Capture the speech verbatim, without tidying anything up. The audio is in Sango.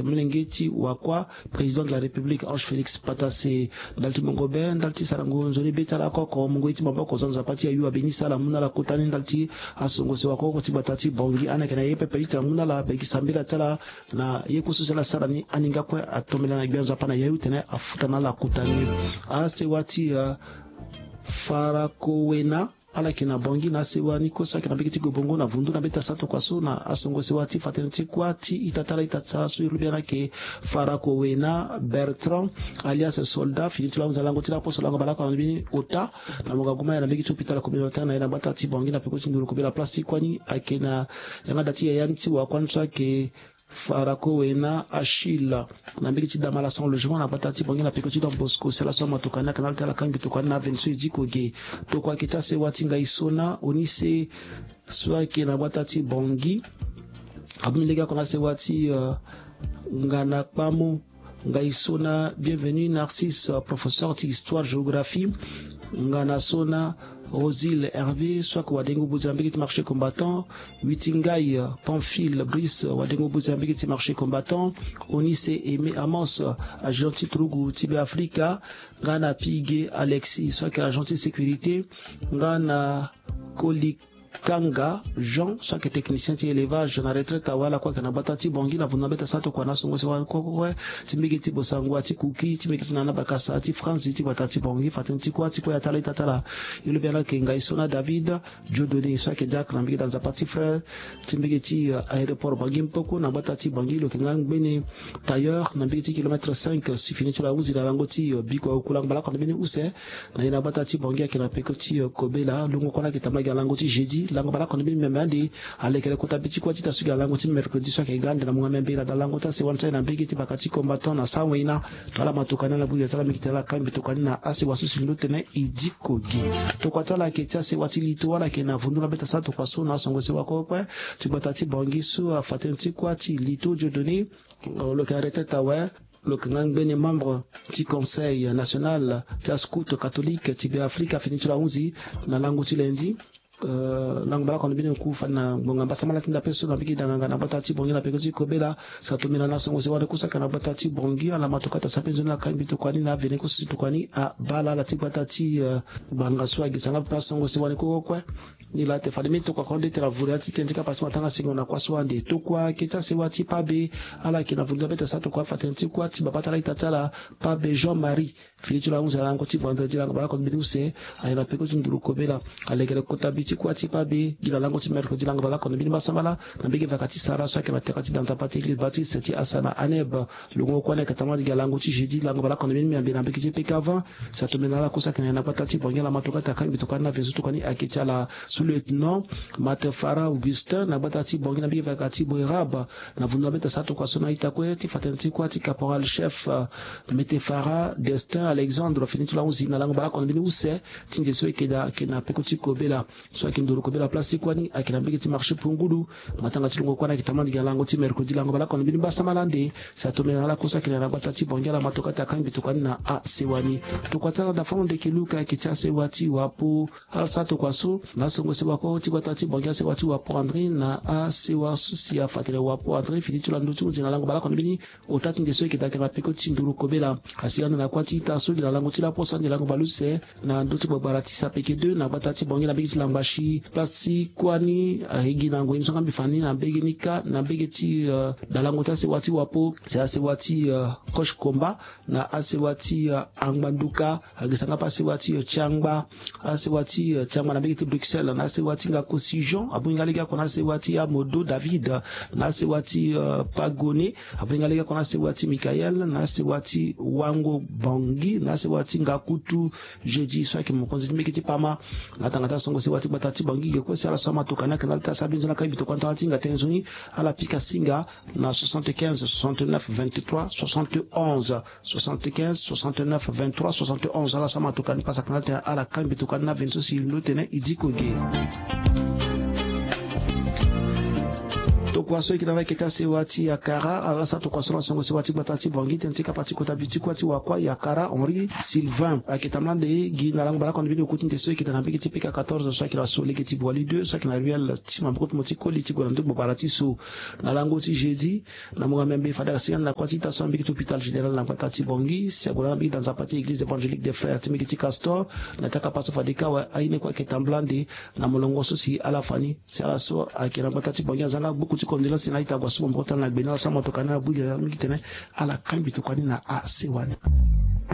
molenge ti wakua, président de la République Ange Félix Patassé. Ndali ti mongo be, ndali ti sarango nzoni be ti ala oko oko, mongo ye ti maboko zo na nzapa ti ayu abeni sala mu na ala kota ni ndali ti asongo sewa oko oko ti gbata ti Bangui, ande ayeke na ye pepe ti tene amu na ala begi sambela ti ala na ye kue so si ala sara ni, aninga kue atombela na gbia nzapa na yayu tene afuta na ala kota ni. Asewa ti, eh, Farakowena, ala yeke na Bangui na asewa ni kue so ayeke na mbege ti Gobongo na vundu na mbeta sa tokua so na asongo sewa ti fa tënë ti kuâ ti ita ti ala ita ti sara so e lobi ala ayeke Farakowena Bertrand alias Soldat, fini ti lo ahunzi na lango ti laposo lango baleoko na mbeni ota. Na mo ga guma aye na mbege ti hôpital communautaire na ye na gbata ti Bangui na peko ti nduru kobela place ti kuâ ni ayeke na yanga da ti yaya ni ti wakua ni so ayeke Farakowena Achille, na mbege ti Damala sans logement na gbata ti Bangui na peko ti Don Bosco. Si ala so amatoka ni ayeke na ala ti ala kangbi tokua ni na avenue so e diko ge. Tokua ayeke ti asewa ti Ngaisona Onise so ayeke na gbata ti Bangui. Abongbi lege oko na asewa ti, eh, Ngana Kpamo, Ngaisona Bienvenu Narcisse, eh, professeur ti histoire géographie. Ngana Sona Rosile Hervé so ayeke wadengo buzi na mbege ti marché combattant. Witingai, eh, Pamphile Brice, eh, wadengo buzi na mbege ti marché combattant. Onise Aimé Amos, eh, agent ti turugu ti Beafrika. Ngana Pige Alexis so ayeke agent ti sécurité. Ngana Kolikanga Jean so ayeke technicien ti élevage na retraite awe, ala kue ayeke na gbata ti Bangui na vundu na mbeta sa tokua na asongo sewa kue kue ti mbege ti Bossangoa ti Kuki ti mbege ti Nana Bakasa ti Franzi ti gbata ti Bangui. Fa tënë ti kuâ ti kue ya ti ala ita ti ala e lobi ala ayeke Ngaisona David Dieudonné so ayeke diacre na mbege ti nzapa ti Frère ti mbege ti, eh, aéroport Bangui Mpoko na gbata ti Bangui. Lo yeke nga ngbene tailleur na mbege ti kilomètre cinq si fini ti lo ahunzi na lango ti, eh, biko aoku lango baleoko na mbeni use. Na ye na gbata ti Bangui ayeke na peko ti, eh, kobela. Lungo kue ni ayeke tambula gi na lango ti jeudi lango baleoko na mbeni miambe ande. Alekere kota be ti kuâ ti ita so gi na lango ti mercredi so ayeke ga ande na mungo miambe na da lango ti asewa ni so aye na mbege ti baka ti combattant na Sawena. Ala matoka ni ala bui gi na ti ala mingi tene ala kangbi tokua ni na asewa so si ndo tene e diko ge. Tokua ti ala ayeke ti asewa ti lito, ala yeke na vundu na mbeta sa tokua so na asongo sewa kue kue ti gbata ti Bangui so afa tënë ti kuâ ti lito Dieudonné. Lo yeke na retraite awe. Lo yeke nga ngbene membre ti Conseil national ti ascout catholique ti Beafrika fini ti lo ahunzi na lango ti lundi. Eh, lango baleoko na mbeni oku fade na ngbonga mbasambala ti ndape so na mbage danganga na gbata ti Bangui na peko ti kobela. Sa tombela na songo sewa ni kue so ayeke na gbata ti Bangui, ala matoka ti asape nzoni na kangbi tokua ni na avene kue so si tokua ni abaa ala ti gbata ti, eh, ngbanga so ayeke sanga pepe na songo sewa ni kue kue. Ni laa te fade mbeni tokua kue nde tene avure ya ti tënë ti kapa ti matanga singo na kuâ so ande. Tokua ayeke ti asewa ti Pabe, ala yeke na vundu na mbeta sa tokua afa tënë ti kuâ ti babâ ti ala ita ti ala Pabe Jean Marie. Fini ti lo ahunzi na lango ti vendredi lango baleoko na mbeni use, aye na peko ti nduru kobela. Alekere kota bi ti kuâ ti Pabe gi na lango ti mercredi lango baleoko na mbeni mbasambala na mbage vaka ti sara so ayeke na tere ti da nzapa ti église baptiste ti Asa na Aneb. Lungo kue ni ayeke tambula gi na lango ti jeudi lango baleoko na mbeni miambe na mbage ti P K vingt. Si atombe na ala kue so ayeke na gbata ti Bangui, ala matoka ti akangbi tokua ni na avenue so tokua ni ayeke ti ala sous-lieutenant Matefara Augustin na gbata ti Bangui na mbage vaka ti Boerab. Na vundu na mbeta sa tokua so na ita kue ti fa tënë ti kuâ ti caporal chef, eh, Metefara Destin Alexandre fini ti lo ahunzi na lango baleoko na mbeni use ti nze so ayeke daa ayeke na peko ti kobela. So ayeke nduru kobela place ti kuâ ni ayeke na mbage ti marché Pungulu. Matanga ti lungo kuâ ni ayeke tambula gi na lango ti mercredi lango baleoko na mbeni mbasambala ande. Si atombe na ala kue so ayeke na gbata ti Bangui, ala matoka ti akangbi tokua ni na asewa ni. Tokua ti ala Dafano Ndeke Luka ayeke ti asewa ti Wapo. Ala sara tokua so na asongo sewa kue ti gbata ti Bangui, asewa ti Wapo André na asewa so si afa tene Wapo André fini ti lo ando ti hunzi na lango baleoko na mbeni ota ti nze so ayeke daa ayeke na peko ti nduru kobela. Asi ande na kuâ ti ita so gi na lango ti laposo ande lango baleuse na ndö ti gbagbara ti Sapeke deux na gbata ti Bangui na mbege ti Langbasi. Place ti kuâ ni, eh, ayeke gi na ngoi ni so nga mbi fa ni na mbege ni kâ na mbege ti, eh, dalango ti asewa ti Wapo, si asewa ti, eh, Kosh Komba, na asewa ti, eh, Angbanduka, ayeke sanga pe asewa ti, eh, Tiangba, asewa ti, eh, Tiangba na mbege ti Bruxelles, na asewa ti Ngakosi Jean, abongbi nga lege oko na asewa ti Amodo David, na asewa ti, eh, Pagone, abongbi nga lege oko na asewa ti Michael, na asewa ti Wango Bangui, na asewa ti Ngakutu Jeudi so ayeke mokonzi ti mbege ti Pama. Na tanga ti asongo sewa ti gbata ti Bangui ge kue si ala so amatoka ni ayeke na ala ti asara mbi nzoni akangbi tokua na tanga ti hinga tënë nzoni, ala pika singa na soixante-quinze soixante-neuf vingt-trois soixante-onze. Soixante-quinze soixante-neuf vingt-trois soixante-onze. Ala so amatoka ni pasa kana tene ala kangbi tokua ni na veni so si lo tene e diko ge. Kua so eke na ala eke ti asewa ti Yakara ala sara tokua so na songo sewa ti gbata ti Bangui tene ti kapa ti kota bi ti kua ti wakua Yakara Henri Sylvain ake tambula nde gi na lango baleoko na mbeni oku ti nde so eke daa na mbege ti P K quatorze so ake na so lege ti Boali deux so ake na ruelle ti maboko ti mo ti koli ti gue na ndö gbabara ti so. Na lango ti jeudi na mungo amembe fade asinga na kua ti ita so na mbege ti hôpital général na gbata ti Bangui si ague na ala mbege daa nzapa ti église évangélique des frères ti mbege ti Castor. Na ti akapa so fade ka awe aye ni kue ake tambula nde na molongo so si ala fa ni si ala so ayeke na gbata ti Bangui azanga gbuku ti condoléance ti na a-ita ague asu maboko ti ala na gbe ni ala so amotoka ni ala bui ge mingi titene ala kangbi tokua ni na asewa ni.